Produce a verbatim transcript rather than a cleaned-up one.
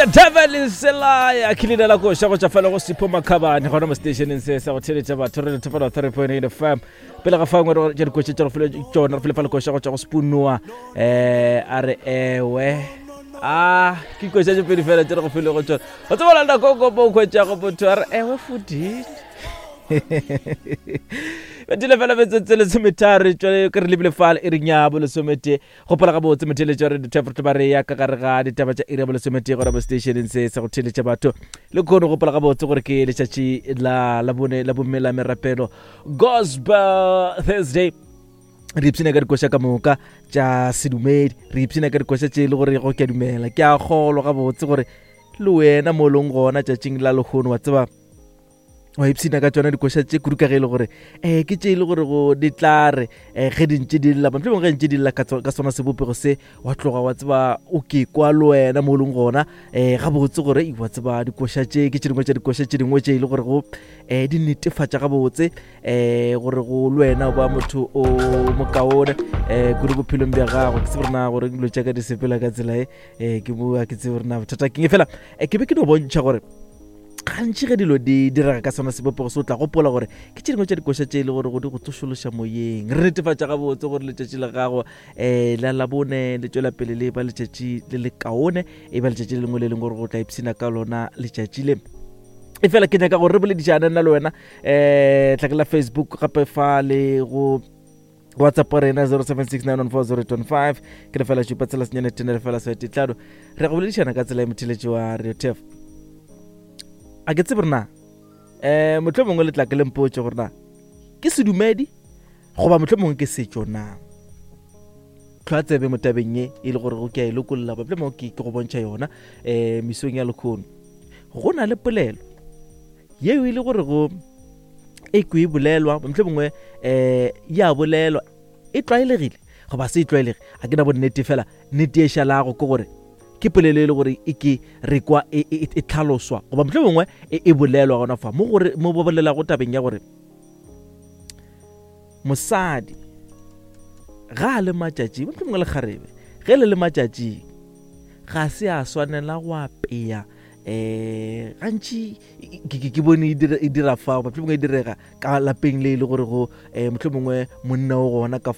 The devil is a liar. Ke leina la koša go tšwa fela go Sipho Makhabane gona mo stationeng se sa go theletša batho re thefela three point eight F M. Pele ga fangwe re tša dikoša tša go file tšona, re file fa lekoša go tšwa go Spoonwa, eh a re ewe a ke koša tše pedi fela tše re go file go tšona. O tseba la nako ko o hwetšago motho a re ewe fodile betile fela metsotso lesometharo tšwale ke re lebile fale e reng ya bolesometee. Gopola gabotse motheletša re dithefo ba re ya ka gare ga ditaba tša iri ya bolesometee gona mo stationeng se sa go theletša batho le kgone. Gopola gabotse gore ke letšatši la labone la bomme la merapelo, Gospel Thursday. Re ipshina ka dikoša ka moka tša sedumedi, re ipshina ka dikoša tše e le gore go ke a dumela, ke a kgolwa gabotse gore le wena mo leng gona tšatšing la lehono wa tseba wa ipshina ka tsona dikoša tše kudu, ka ge e le gore um ke tše e le gore go di tla re um ge di ntše di lla, mohlomongwe ge ntše di lla ka tso- ka sona sebopego se, wa tloga wa tseba o ke kwa le wena mo o leng gona um gabotse gore ei, wa tseba dikoša tše ke tše dingwe tša dikoša tše dingwe tše e le gore go um di netefatša gabotse um gore go le wena o ba motho o mokaone um kudu bophelong bja gago. Ke tsebe rena gore dilo tša ka di sepela ka tsela e um ke mo a ke tsebe rena bothata keng fela. um ke be ke no bontšha gore gantši ge dilo di direga ka sona sebopego se, o tla gopola gore ke tše dingwe tša dikoša tše e le gore go di go tsošološa moyeng. Re netefatša gabotse gore letšatši la gago um la labone le tšwela pele le ba letšatši le le kaone, e ba letšatši le lengwe le lengwe gore go tla ipshina ka lona letšatši le. E fela ke nyaka gore re boledišane nna le wena um tlake la Facebook gape fa le go WhatsApp rena zero seven six nine one four zero two five, ke lefela šupa tsela senyane tene lefela sete tlado. Re go boledišana ka tsela ya motheletši wa Radio Tef. A ke tsebe rena um motlho mongwe le tla ke le mpotse gore na ke sedumedi goba motlho mongwe ke setšo na. Tlhwa tsebe mo tabeng ye e le gore go ke a e lokolola, motlho mongwe ke ke go bontšha yona um mesong ya lekgono. Go na le polelo yeo e le gore go e ko e bolelwa, motlho mongwe um ya bolelwa, e tlwaelegile goba se e tlwaelege, a ke na bonnete. Fela nnete e šalago ke gore ke polelo e le gore e ke re kwa e, e, e tlhaloswa goba motlho mongwe e, e bolelwa gona fa mo gore mo ba bolelago tabeng ya gore mosadi ga a le matšatšing, motlho mongwe le kgarebe ge le le matšatšing, ga se a swanela go apea. um gantši ke ke- ke bone e dira- e dira fa, motlho mongwe e direga ka lapeng le e le gore go um motlho mongwe monna o gona ka